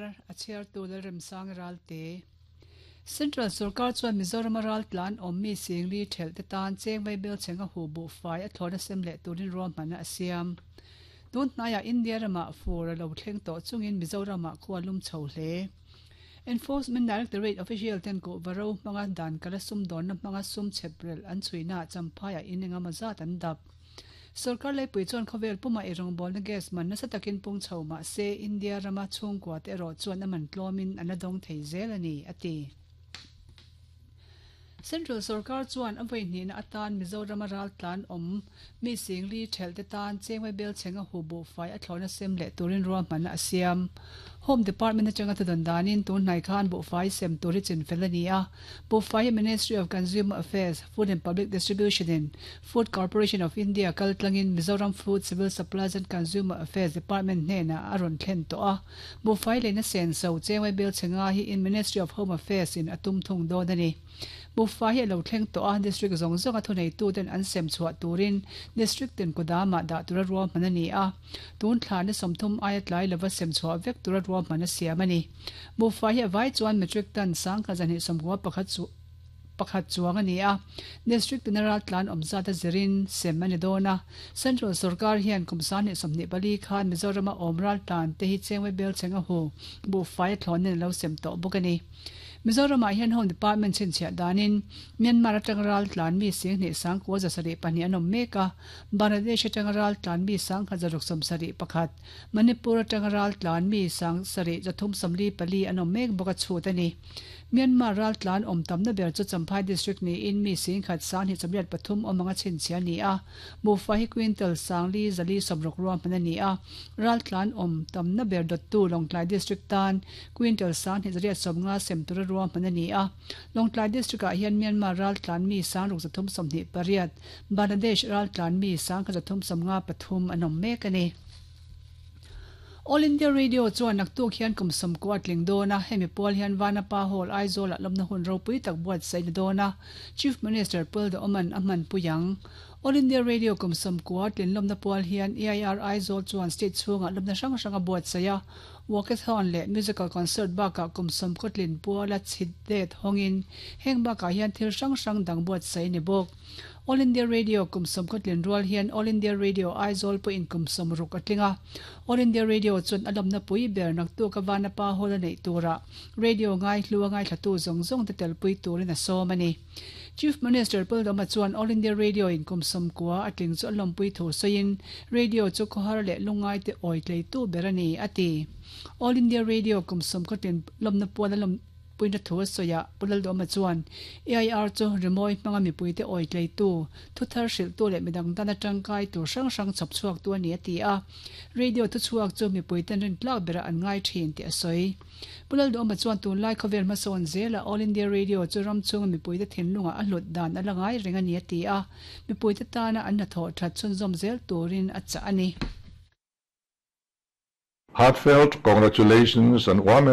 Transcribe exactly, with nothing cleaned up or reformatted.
thar a chhiartu Lalremsang Ralte. Central Sorkar chuan Mizoram a raltlan awm mi singli thelh te tan cheng vaibel chhenga hu buhfai a thlawna sem leh turin ruahmanna a siam. Tun hnaiah India ramah fur a lo thleng tawh chungin Mizoramah khua lum chho hle. Enforcement Directorate official ten kuhva ro hmanga dan kala sum dawnna hmanga sum chheprelh an chhuina Champhaiah in engemaw zat an dap. Sorkar leipui chuan khawvel puma eirawngbawlna gas man nasa takin pung chho mah se India rama chhungkua te erawh chuan a man tlawmin an la dawng thei zel a ni, a ti. Central sorkar chuan a vawi hnihna atan Mizorama raltlan awm mi singli thelh te tan chengmai bel chhenga hu buhfai a thlawhna sem leh turin ruahmanna a siam. Home Department atanga thudawn danin tun hnai khan buhfai sem tur hi chinfel a ni a. Buhfai hi Ministry of Consumer Affairs, Food and Public Distribution in Food Corporation of India kal tlangin Mizoram Food, Civil Supplies and Consumer Affairs Department hnenah a rawn thlen tawh a. Buhfai leina senso chengmai bel chhenga hi in Ministry of Home Affairs in a tum thung dawn a ni. Buhfai hi a lo thleng tawh a, District zawng zawnga thuneituten an sem chhuah turin District tin kudamah dah tura ruahman a ni a. Tun thla ni sawmthum aia tlai lova sem chhuah vek tura ruahman a siam a ni. Buhfai hi a vai chuan metric ton sangkhat zahnih sawmkua pakhat chu pakhat chuang a ni a. District tina raltlan awm zat a zirin sem a ni dawn a. Central sorkar hian kum sanghnih sawmhnih pali khan Mizorama awm raltlan te hi chengmai bel chheng a hu buhfai a thlawn in a lo sem tawh bawk a ni. Mizoramah hian Home Department chhinchhiah danin Myanmar atanga raltlan mi singhnih sangkua za sarih pahnih an awm mek a, Bangladesh atanga raltlan mi sangkhat zaruk sawm sarih pakhat, Manipur atanga raltlan mi sang sarih zathum sawmli pali an awm mek bawk a chhut a ni. Myanmar raltlan awm tamna ber chu Champhai District niin mi singkhat sanghnih chawmriat pathum awm anga chhinchhiah a ni a, Buhfai hi quintal sangli zali sawmruk ruahman a ni a, raltlan awm tamna ber dawttu Lawngtlai District tan quintal sanghnih zariat sawmnga sem tura ruahman a ni a. Lawngtlai District-ah hian Myanmar raltlan mi sangruk zathum sawmhnih pariat, Bangladesh raltlan mi sangkhat zathum sawmnga pathum an awm mek a ni. All India Radio chuan naktuk hian kum sawmkua a tling dawn a, hemi pual hian Vanapa Hall, Aizawl-ah lawmna hun ropui tak buatsaih ni dawn a, Chief Minister Pul Duhawman a hmanpui ang. All India Radio kum sawmkua tlin lawmna pual hian E I R Aizawl chuan state chhungah lawmna hrang hrang a buatsaih a, walkathon leh musical concert bakah kum sawmkaw tlin puala chhit det hawngin heng bakah hian thil hrang hrang dang buatsaih a ni bawk. All India Radio kum sawmkaw tlin rual hian All India Radio Aizawl pawhin kum sawmruk a tling a. All India Radio chuan a lawmna pui ber naktuk a Vanapa Hall a neih turah radio ngaihlu a ngaithlatu zawng zawng te telpui turin a sawm a ni. Chief Minister Paldama chuan All India Radio in kum sawmkua a tling chu a lawmpui thu sawiin radio chu khawhar leh lungngai te awi tleitu ber a ni, a ti. All India Radio kum sawmkaw tlin lawmna puan a lawmpuina thu a sawi a, Pu Laldawma chuan A I R chu rimawi hmanga mipuite awi tleitu, thuthar hrilhtu leh midang dana tangkai tur hrang hrang chhawp chhuaktu a ni, a ti a. Radio thuchhuak chu mipuiten rintlak berah an ngai thin tih a sawi. Pu Lalduhawma chuan tunlai khawvel hmasawn zela All India Radio chu ram chhunga mipuite thinlungah a hlut dan a la ngai reng a ni a ti a, mipuite tana an hnathawh that chhunzawm zel turin a chah a ni. Heartfelt congratulations and warm